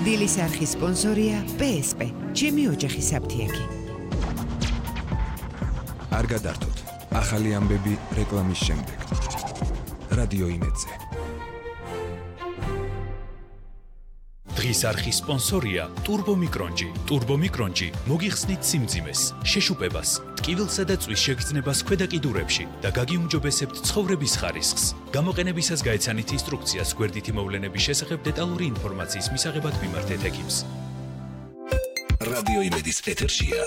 დილის არხის სპონსორია PSP. ჩემი ოჯახის საფთიაქი. არ გადართოთ. ახალი ამბები რეკლამის შემდეგ. რადიო იმედზე. დღის არხის სპონსორია ტურბომიკრონჯი. ტურბომიკრონჯი მოგიხსნით სიმძიმეს, შეშუპებას, ტკივილსა და წვის შეგრძნებას ქვედა კიდურებში და გაგიუმჯობესებთ ცხოვრების ხარისხს. გამოყენებისას გაეცანით ინსტრუქციას გვერდითი მოვლენების შესახებ დეტალური ინფორმაციის მისაღებად მიმართეთ ექიმს. რადიო იმედის ეთერშია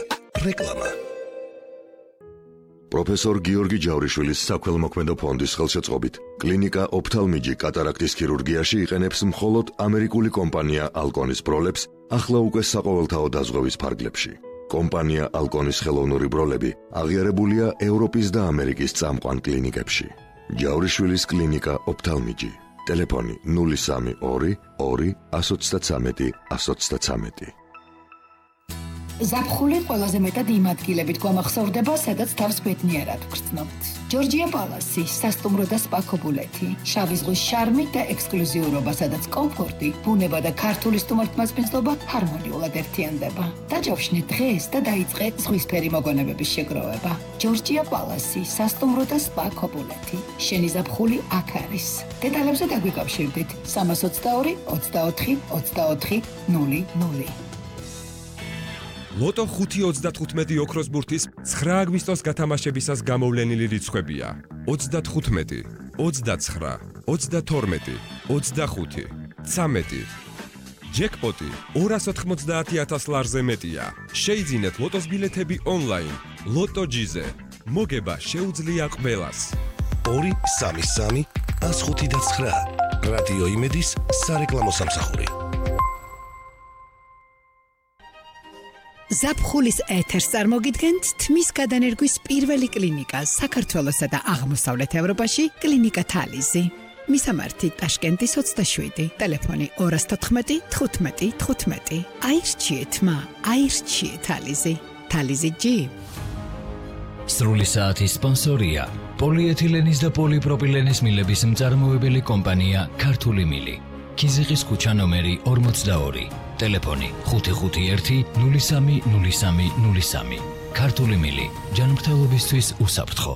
რეკლამა. პროფესორ გიორგი ჯავრიშვილის საქველმოქმედო ფონდის ხელშეწყობით კლინიკა ოფთალმიჯი კატარაქტის ქირურგიაში იყენებს მხოლოდ ამერიკული კომპანია ალკონის ბროლებს ახლა უკვე საყოველთაო დაზღვევის ფარგლებში. კომპანია ალკონის ხელოვნური ბროლები აღიარებულია ევროპის და ამერიკის წამყვან კლინიკებში. ჯავრიშვილის კლინიკა ოფთალმიჯი. ტელეფონი 032 2 133 133. ზაფხული ყველაზე მეტად იმ ადგილებით გვამახსოვრდება, სადაც თავს ბედნიერად ვგრძნობთ. ჯორჯია პალასი, სასტუმრო და სპა ქობულეთი, შავი ზღვის შარმი და ექსკლუზიურობა, სადაც კომფორტი, ბუნება და ქართული სტუმართმასპინძლობა ჰარმონიულად ერთიანდება. დაჯავშნით დღეს და დაიწყეთ ზღვისფერი მოგონებების შეგროვება. ჯორჯია პალასი, სასტუმრო და სპა ქობულეთი. შენი ზაფხული აქ არის. დეტალებზე დაგვიკავშირდით 322 24 24 00. ლოტო 5.35 ოქროს ბურთის 9 აგვისტოს გათამაშებისას გამოვლენილი რიცხვებია 35, 29, 22, 25, 13. ჯეკპოტი 290,000 ლარზე მეტია. შეიძინეთ ლოტოს ბილეთები ონლაინ. ლოტო ჯიზე. მოგება შეუძლია ყველას. 233 105 რადიო იმედის სარეკლამო სამსახური. ზაფხულის ეთერს წარმოგიდგენთ თმის გადანერგვის პირველი კლინიკა საქართველოსა და აღმოსავლეთ ევროპაში კლინიკა თალიზი. მისამართი ტაშკენტის 27, ტელეფონი 214 15 15. აირჩიეთ მა, აირჩიეთ თალიზი. თალიზი ჯი. სრული საათის სპონსორია პოლიეთილენის და პოლიპროპილენის მილების მწარმოებელი კომპანია ქართული მილი. ქიზიყის ქუჩა ნომერი 42. ტელეფონი 551 03 03 03. ქართული მილი ჯანმრთელობისთვის უსაფრთხო.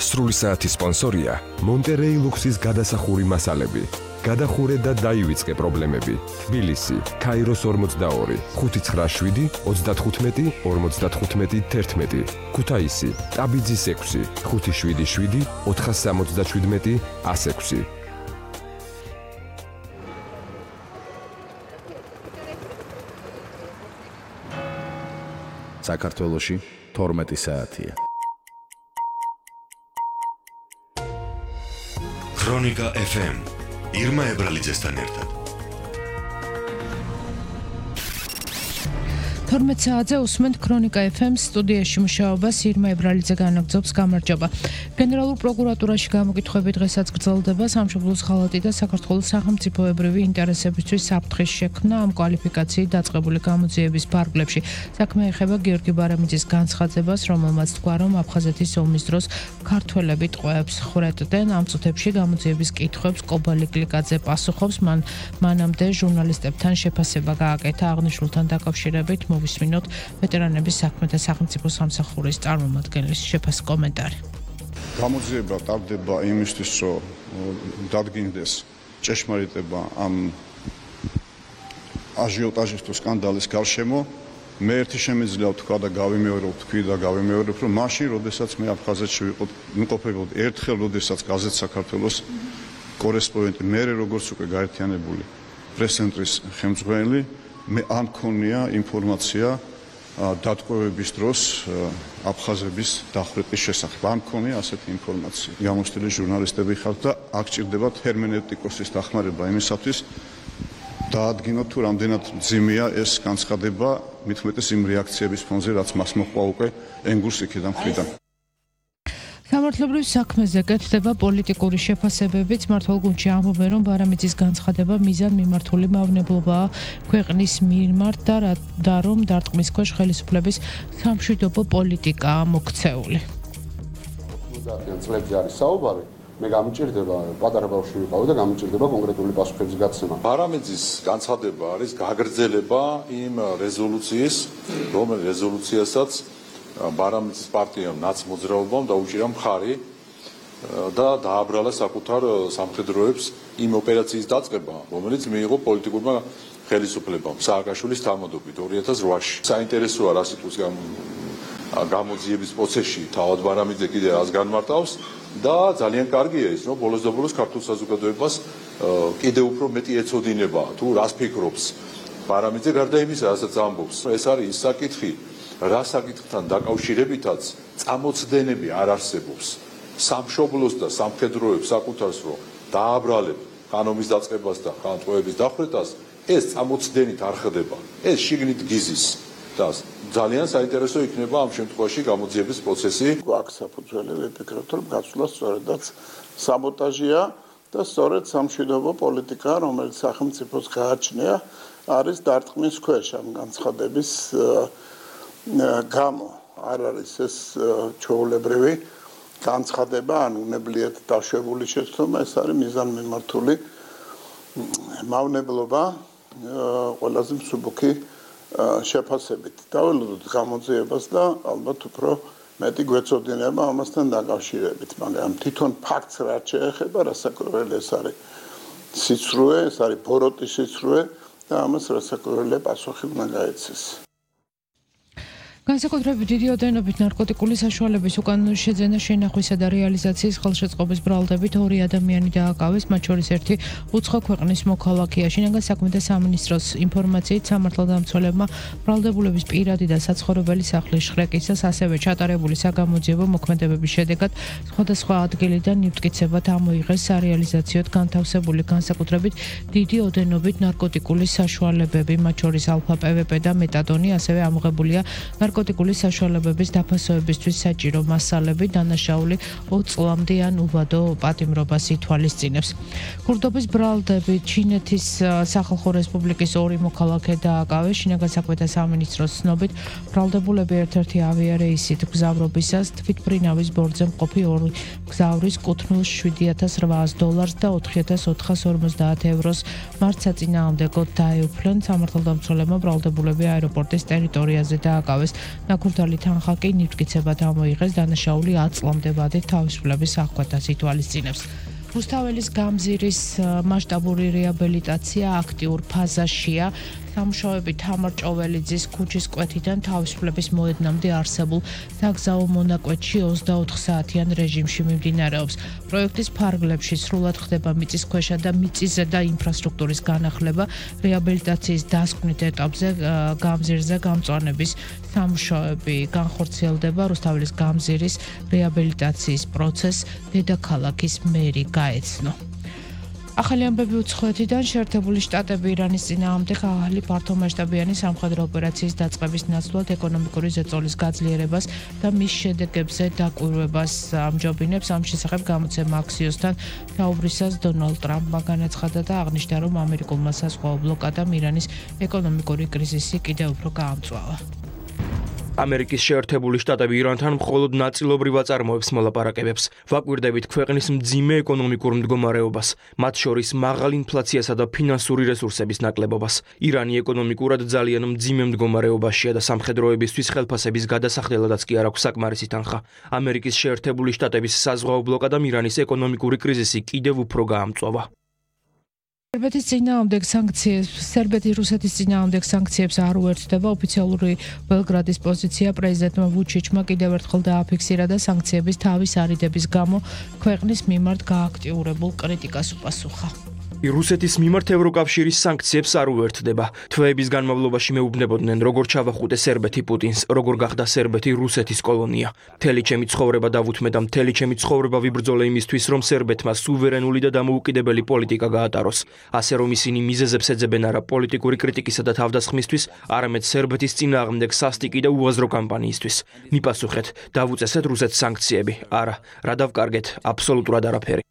სრული საათის სპონსორია მონტერეი ლუქსის გადასახური მასალები. გადახურე და დაივიწყე პრობლემები. თბილისი, ქაიროს 42, 597 35 55 11. ქუთაისი, ტაბიძის 6, 577 477 106. საქართველოში 12 საათია. ქრონიკა FM ირმა ებრალიძესთან ერთად. 12 საათზე უსმენთ ქრონიკა FM-ს სტუდიაში მუშაობას ირმა ებრალიძე განაგრძობს. გამარჯობა. გენერალურ პროკურატურაში გამოკითხვები დღესაც გრძელდება. სამშობლოს ღალატი და საქართველოს სახელმწიფოებრივი ინტერესებისთვის საფრთხის შექმნა ამ კვალიფიკაციით დაწყებული გამოძიების ფარგლებში. საქმე ეხება გიორგი ბარამიძის განცხადებას, რომელმაც თქვა, რომ აფხაზეთის ომის დროს ქართველები ტყვეებს ხვრეტდნენ. ამ წუთებში გამოძიების კითხვებს კობალი გლიკაძე პასუხობს. მანამდე ჟურნალისტებთან შეფასება გააკეთა აღნიშნულთან დაკავშირებით. მოვისმინოთ ვეტერანების საქმეთა სახელმწიფო სამსახურის წარმომადგენლის შეფასების კომენტარი. გამოძიება ტარდება იმისთვის, რომ დადგინდეს ჭეშმარიტება ამ აჟიოტაჟის თუ სკანდალის გარშემო. მე ერთი შემიძლია ვთქვა და გავიმეორებ, რომ მაშინ, როდესაც მე აფხაზეთში ვიმყოფებოდი, ერთხელ, როდესაც გაზეთ საქართველოს კორესპონდენტი, მე როგორც უკვე გაერთიანებული პრეს-ცენტრის ხელმძღვანელი, მე არ მქონია ინფორმაცია დატყვევების დროს აფხაზების დახვრეტის შესახებ. არ მქონია ასეთი ინფორმაცია. გამოცდილი ჟურნალისტები ხართ და აქ ჭირდება ჰერმენევტიკოსის დახმარება იმისათვის დაადგინოთ თუ რამდენად მძიმეა ეს განცხადება, მით უმეტეს იმ რეაქციების ფონზე, რაც მას მოჰყვა უკვე ენგურს იქიდან მხრიდან. სამართლებრივ საქმეზე კეთდება პოლიტიკური შეფასებებიც. მმართველ-გუნდში ამბობენ, რომ ბარამიძის განცხადება მიზანმიმართული მავნებლობაა ქვეყნის მიმართ და რომ დარტყმის ქვეშ ხელისუფლების სამშვიდობო პოლიტიკაა მოქცეული. 90-იან წლებში არის საუბარი, მე გამიჭირდება პატარა ბავშვი ვიყავი და გამიჭირდება კონკრეტული პასუხების გაცემა. პარამეძის განცხადება არის გაგრძელება იმ რეზოლუციის, რომელიც რეზოლუციასაც პარამეძის პარტიამ ნაცმოძრაობამ დაუჭირა მხარი და დააბრალა საკუთარ სამხედროებს იმ ოპერაციის დაწყება, რომელიც მიიღო პოლიტიკურმა ხელისუფლებამ სააკაშვილის თანამდებობით 2008-ში. საინტერესოა რა სიტყვის გამოძიების პროცესში თავად ბარამიძე კიდე რას განმარტავს და ძალიან კარგია ის, რომ ბოლოს და ბოლოს ქართულ საზოგადოებას კიდე უფრო მეტი ეცოდინება თუ რას ფიქრობს ბარამიძე გარდა იმისა, რასაც ამბობს. ეს არის ის საკითხი, რა საკითხთან დაკავშირებითაც წამოწდენები არ არსებობს. სამშობლოს და სამხედროებს საკუთარს რომ დააბრალებ ხანომის დაწყებას და ხანტყვეების დახვრეტას, ეს წამოწდენით არ ხდება. ეს შიგნით გიზის და ძალიან საინტერესო იქნება ამ შემთხვევაში გამოძიების პროცესი. აქ საფუძველი ვიფიქროთ, რომ გაცვლა სწორედაც საბოტაჟია და სწორედ სამშვიდობო პოლიტიკა, რომელიც სახელმწიფოს გააჩნია, არის დარტყმის ქვეშ ამ განცხადების გამო. არ არის ეს ჩვეულებრივი განცხადება, ან უნებლიეთ დაშვებული შეცდომა, ეს არის მიზანმიმართული მავნებლობა ყველაზე მსუბუქი შეფასებით. დაველოდოთ გამოძიებას და ალბათ უფრო მეტი გვეცოდინება ამასთან დაკავშირებით, მაგრამ თვითონ ფაქტს რაც შეეხება, რასაკვირველი ეს არის სიცრუე, ეს არის ბოროტის სიცრუე და ამას რასაკვირველია პასუხი უნდა გაეცეს. განსაკუთრებით დიდი ოდენობით ნარკოტიკული საშუალების უკანონო შეძენა, შენახვისა და რეალიზაციის ხელშეწყობის ბრალდებით 2 ადამიანი დააკავეს, მათ შორის ერთი უცხო ქვეყნის მოქალაქეა. შინაგან საქმეთა სამინისტროს ინფორმაციით სამართალდამცველებმა ბრალდებულების პირადი და საცხოვრებელი სახლის შხრეკისას, ასევე ჩატარებული საგამოძიებო მოქმედებების შედეგად სხვადასხვა ადგილიდან ნივთკიცებად ამოიღეს სარეალიზაციოდ განთავსებული განსაკუთრებით დიდი ოდენობით ნარკოტიკული საშუალებები, მათ შორის ალფა PVP და მეტადონი, ასევე ამოღებულია ნარკოტიკული საშუალებების დაფასოებისთვის საჭირო მასალები, დანაშაული 20 წლამდე ან უბადო პატიმრობას ითვალისწინებს. ქურდობის ბრალდებით ჩინეთის სახალხო რესპუბლიკის 2 მოქალაქე დააკავეს. შინაგან საქმეთა სამინისტროს ცნობით, ბრალდებულები ერთ-ერთი ავიარეისით გზავრობისას თვითმფრინავის ბორცვზე მყოფი 2 გზავრის კუთვნილ $7,800 და €4,450 მართ საწინააღმდეგოდ დაეუფლნენ. სამართალდამცველებმა ბრალდებულები აეროპორტის ტერიტორიაზე დააკავეს. ნაკურდალი თანხა კი ნივთკიცებად ამოიღეს, დანაშაული 10 წლამდე ვადით თავისუფლების აღკვეთას ითვალისწინებს. რუსთაველის გამზირის მასშტაბური რეაბილიტაცია აქტიურ ფაზაშია. სამუშაოები თამარ ჭოველიძის ქუჩის კვეთიდან თავისუფლების მოედნამდე არსებულ საგზაო მონაკვეთში 24 საათიან რეჟიმში მიმდინარეობს. პროექტის ფარგლებში სრულად ხდება მიწისქვეშა და მიწისზედა ინფრასტრუქტურის განახლება. რეაბილიტაციის დასკვნით ეტაპზე გამზირზე გამწვანების სამუშაოები განხორციელდება. რუსთაველის გამზირის რეაბილიტაციის პროცესს დედაქალაქის მერი გაეცნო. ახალი ამბები უცხოეთიდან. შეერთებული შტატები ირანის წინააღმდეგ ახალი ფართომასშტაბიანი სამხედრო ოპერაციის დაწყების ნაცვლად ეკონომიკური ზეწოლის გაძლიერებას და მის შედეგებზე დაკვირვებას ამჯობინებს. ამ შესახებ გამოცემა Axios-თან საუბრისას დონალდ ტრამპმა განაცხადა და აღნიშნა, რომ ამერიკულმა საზღვაო ბლოკადამ ირანის ეკონომიკური კრიზისი კიდევ უფრო გაამწვავა. ამერიკის შეერთებული შტატები ირანთან მხოლოდ ნაწილობრივ აწარმოებს მოლაპარაკებებს. ვაკვირდებით ქვეყნის მძიმე ეკონომიკურ მდგომარეობას, მათ შორის მაღალ ინფლაციასა და ფინანსური რესურსების ნაკლებობას. ირანი ეკონომიკურად ძალიან მძიმე მდგომარეობაშია და სამხედროებისთვის ხელფასების გადასახდელადაც კი არ აქვს საკმარისი თანხა. ამერიკის შეერთებული შტატების საზღვაო ბლოკადამ ირანის ეკონომიკური კრიზისი კიდევ უფრო გაამწვავა. სერბეთის რუსეთის წინააღმდეგ სანქციებს არ უერთდება. ოფიციალური ბელგრადის პოზიცია პრეზიდენტმა ვუჩიჩმა კიდევ ერთხელ დააფიქსირა და სანქციების თავის არიდების გამო ქვეყნის მიმართ გააქტიურებულ კრიტიკას უპასუხა. რუსეთის მიმართ ევროკავშირის სანქციებს არ უერთდება. თვეების განმავლობაში მეუბნებოდნენ, როგორ ჩავახუტე სერბეთი პუტინს, როგორ გახდა სერბეთი რუსეთის კოლონია. მთელი ჩემი ცხოვრება დავუთმე და მთელი ჩემი ცხოვრება ვიბრძოლე იმისთვის, რომ სერბეთმა სუვერენული და დამოუკიდებელი პოლიტიკა გაატაროს. ასე რომ ისინი მიზეზებს ეძებენ არა პოლიტიკური კრიტიკისა და თავდასხმისთვის, არამედ სერბეთის წინააღმდეგ სასტიკი და უაზრო კამპანიისთვის. მიპასუხეთ, დავუწესეთ რუსეთს სანქციები. არა, რა დავკარგეთ? აბსოლუტურად არაფერი.